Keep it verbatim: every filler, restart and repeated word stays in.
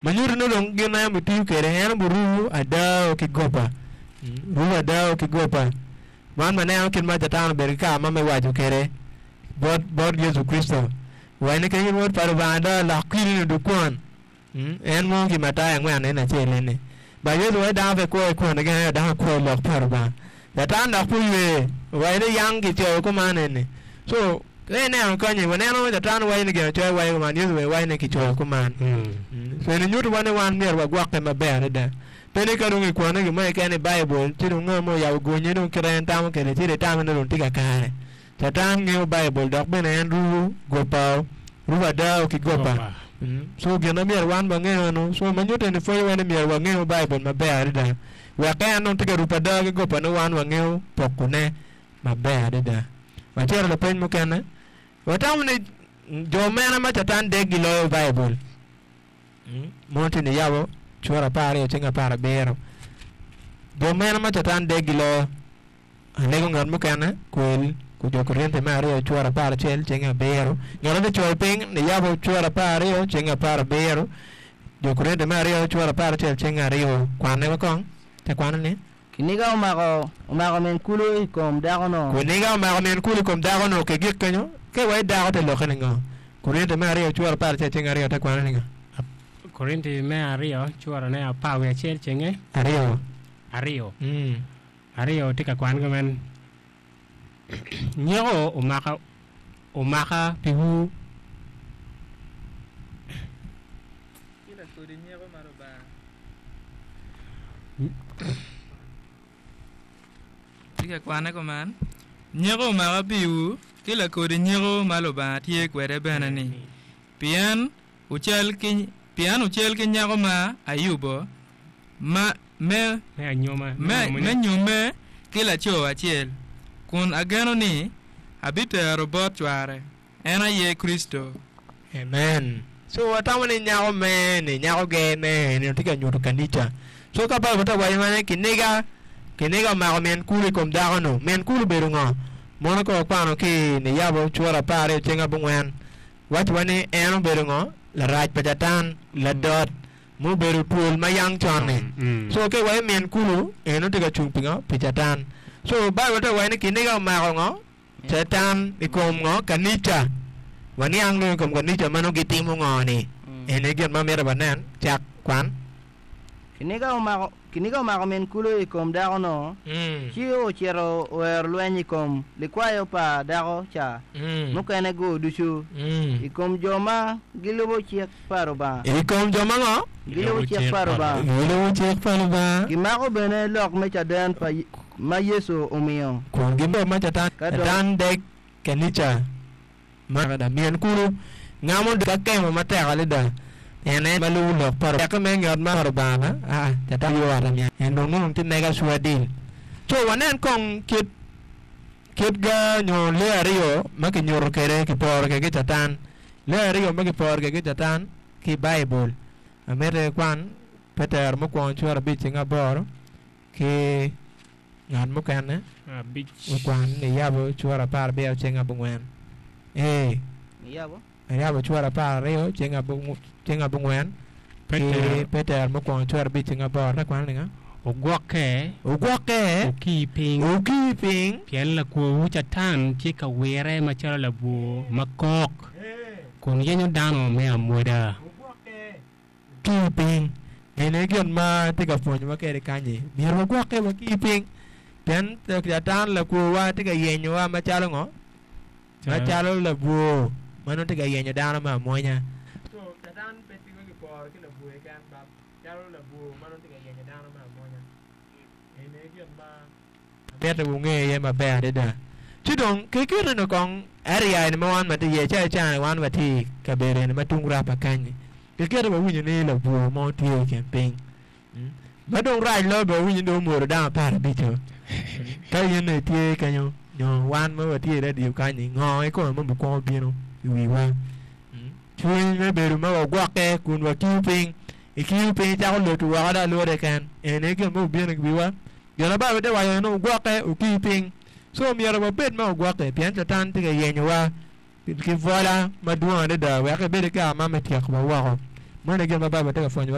Ma nyuto ni dong gin en obitiyo kwede en obirubo ada ki goba. Rubo ada ki goba. Man waneno kit ma Catan obedo ki kare ma me waco kwede bot bot Yecu Kricito. Waco ni ka in Wod pa Lubanga ada lok kwidi-ni odug kwon. En mo ki Matayo angwen en acel eni. Ba Yecu waco dano pe kwo i kwon keken ento dano kwo i lok pa Lubanga. Catan dok pe oywe owaco ni yang kicoyo kuman eni. So ka ineno kanyi waneno Catan waco ni ginacoya waco kuman Yecu bene waco ni kicoyo kuman. So eni nyuto wa ni wan myero wagwokke maber adada. Pe ni ka dong ikwane gin mo keken i Baibul ci dong ngat mo oyabo gonyi dong kite en tamo kwede ci dong itamo ni dong tye kakare. Catan ngeyo Baibul dok bene en rubo goba rubo ada ki goba. So gin ma myero wan wangeyo eno so ma nyuto eni pwonyowa ni myero wangeyo Baibul maber adada wek ka en dong tye ka rubo ada ki goba ni wan wangeyo pokone maber adada. Wacito lapeny mukene watamo ni jo mene ma Catan deg giloyo Baibul mono tye niyabo cura apar aryo ceng apar abiro jo mene ma Catan deg giloyo alego ngat mukene kwel jo Korinti me aryo cura apar acel ceng abiro ngat ma coyo piny niyabo cura apar aryo ceng apar abiro jo Korinti me aryo cura apar acel ceng aryo kwane wa kong te kwane ni Kiniga omako omako min kulu i kom dako-nu. Kiniga omako min kulu i kom dako-nu kigik kenyo ke wa i dako te lokke ni ngo Korinti me aryo cura apar acel ceng aryo te kwane ni ngo Korinti me aryo curane apar wiye acel cenge aryo aryo mm. aryo tye ka kwan kumen nyeko omaka omaka piwu Ki lakodi nyeko ma Lubanga tye ka kwane kuman nyeko omaka piwu ki lakodi nyeko ma Lubanga tye kwede bene-ni pien ocal ki pien ocal ki nyako ma ayubo ma me me anyoma me, me nyomme ki laco acel kun ageno ni abitero bot cware en aye Kricito. Amen. So watamo ni nyako me ni nyako ger me ni tye ka nyuto kanica. So ka Baibul te waco ni kiniga kiniga omako min kulu i kom dako-nu. Min kulu obedo ngo? Mono ka wakwano ki niyabo cura apar aryo ceng abongwen wacowa ni en obedo ngo? Larac pa Catan, ladot mubedo twol ma yang con-ni. Mm. So ka iwaco min kulu eno tye ka cung pi ngo? Pi Catan. So Baibul te waco ni kiniga omako ngo? Catan i kom ngo? Kanica. Waniang dong i kom kanica ma nongo gitimo ngo ni. Eni gin ma myero wanen cak kwan. Kiniga omako kiniga omako min kulu i kom dako-nu, Mm. ci ocito oero lweny i kom likwayo pa dako ca Mm. mukene-gu ducu, Mm. i kom jo ma gilubo cik pa Lubanga. I kom jo ma ngo? Gilubo cik pa Lubanga. Gilubo cik pa Lubanga. Gimako bene lok me caden pa ma Yecu omio. Kun gibedo ma Catan Ka dong- Catan deg kanica ma min kulu ngamo ka kemo matek adada en en ma lubo lok pa Lubanga me ngat ma Lubanga ah Catan yo ot en dong nongo tye mega sure deal. So wanen kong kit kit ga nyo lee aryo ma kinyuto kwede kiporo kwede ki Catan lee aryo ma kiporo kwede ki Catan ki Baibul amito ikwan Petero mukwongo cura abic ceng aboro ki ngat mukene abic okwan niyabo cura apar abiro ceng abongwen ee Niyabo? niyabo cura apar aryo ceng abongwen ceng abongwen ki Petero Petero mukwongo cura abic ceng aboro te kwane ni ngo ogwokke ogwokke okii piny okii piny pien lakworwu Catan tye ka wire macalo labwor ma kok kun yenyo dano me amwoda. Okii piny eni gin ma tye ka pwonyowa kwede kanyi myero wagwokke wakii piny pien Catan lakworwa tye ka yenyowa macalo ngo macalo labwor ma nongo tye ka yenyo dano me amwonya. So Catan pe tigo kiporo ki labwor keken but calo labwor ma nongo tye ka yenyo dano me amwonya eni gin ma amito wunge iye maber adada. Ci dong kiketoni kong area eni ma wan watye iye calo cani wan watye i kabedo eni ma tung rapa kanyi kiketo wawinyo ni labwor mo tye i kin piny ma dong rac loyo bene wawinyo ni dong omwodo dano apar abico ka in itye kenyo nyo wan ma watye i radio kanyi ngo kikome ma obikwongo bino i wiwa cwiny me bedo ma wagwokke kun wakiyo piny ikiyo piny icako loto woko dong alwora keken eni gin ma obino i wiwa gin ma Baibul te waco ni wugwokke wuki piny so myero wabed ma wagwokke pien Catan tye ka yenyowa ki bwola madwong adada wek ebed ki kare ma me tyekowa woko meno gin ma Baibul tye ka pwonyowa.